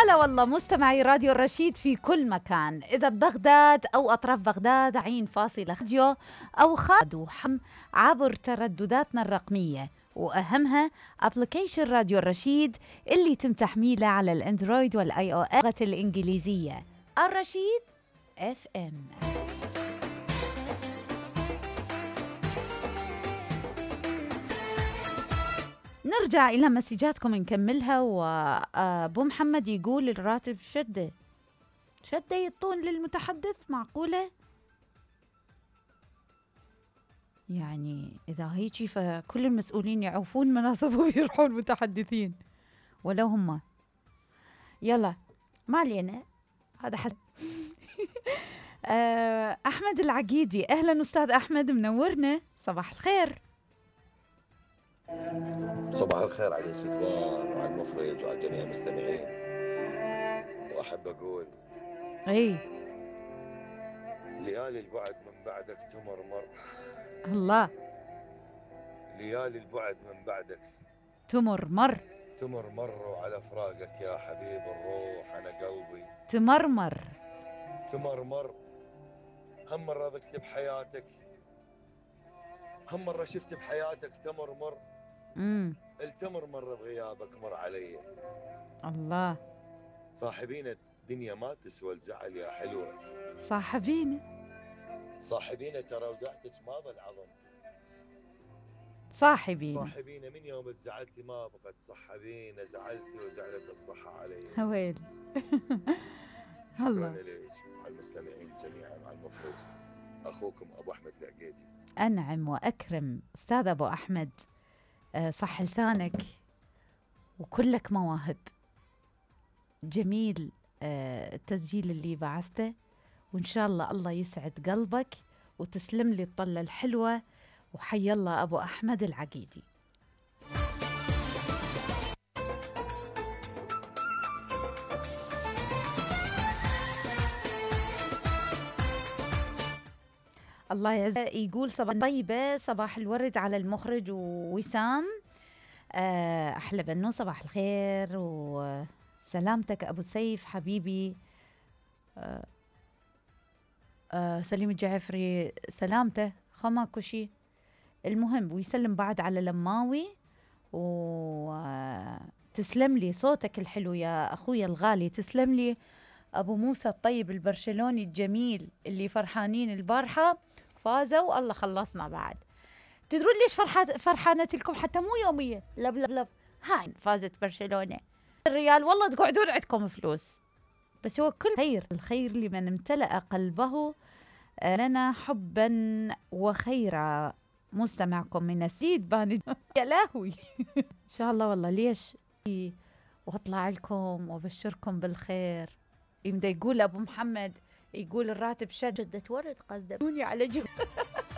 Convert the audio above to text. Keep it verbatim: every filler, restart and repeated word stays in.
هلا والله مستمعي راديو الرشيد في كل مكان، إذا ببغداد أو أطراف بغداد عين فاصلة راديو أو خادو حم عبر تردداتنا الرقمية، وأهمها أبليكيشن راديو الرشيد اللي يتم تحميله على الأندرويد والآي أو إس باللغة الإنجليزية. الرشيد اف ام. نرجع إلى مسجاتكم نكملها. وأبو محمد يقول الراتب شدة شدة يطون للمتحدث، معقولة؟ يعني إذا هيجي فكل المسؤولين يعوفون مناصبهم ويروحون متحدثين ولو هم. يلا ما علينا، هذا حسب. أحمد العقيدي، أهلا أستاذ أحمد، منورنا، صباح الخير. صباح الخير على الاستثمار وعلى المخرج وعلى جميع المستمعين. وأحب أقول أي ليالي البعد من بعدك تمرمر، الله، ليالي البعد من بعدك تمرمر تمرمر، وعلى فراقك يا حبيب الروح أنا قلبي تمرمر تمرمر. هم مرة ذقت بحياتك، هم مرة شفت بحياتك تمرمر، امم التمرمر بغيابك مر علي. الله، صاحبين الدنيا ما تسوى الزعل يا حلوة، صاحبينا صاحبينا ترى ودعتك ما بالعظم، صاحبين صاحبينا من يوم زعلتي ما بقت صحبينا، زعلتي وزعلت الصحة علي. هويل. شكرا لك على المستمعين جميعا، مع المخرج أخوكم أبو أحمد العقيدي. أنعم وأكرم أستاذ أبو أحمد، أه صح لسانك وكلك مواهب. جميل أه التسجيل اللي بعثته، وإن شاء الله الله يسعد قلبك وتسلم لي الطلة الحلوة. وحي الله أبو أحمد العقيدي. الله يعز. يقول صباح طيبة، صباح الورد على المخرج ووسام، أحلى بنو، صباح الخير وسلامتك أبو سيف حبيبي. أه أه سليم الجعفري سلامته خماكو شي. المهم ويسلم بعد على لماوي، وتسلم لي صوتك الحلو يا أخويا الغالي، تسلم لي أبو موسى الطيب البرشلوني الجميل اللي فرحانين البارحة فازوا، الله خلصنا بعد. تدرون ليش فرحانة لكم حتى مو يومية؟ لب لب لب هاي فازت برشلونة الريال، والله تقعدون عندكم فلوس، بس هو كل خير، الخير لمن امتلأ قلبه لنا حبا وخيرا. مستمعكم من السيد باني. يا لهوي. إن شاء الله والله ليش واطلع لكم وابشركم بالخير. يمدى يقول أبو محمد، يقول الراتب شدة ورد، قصده على جو.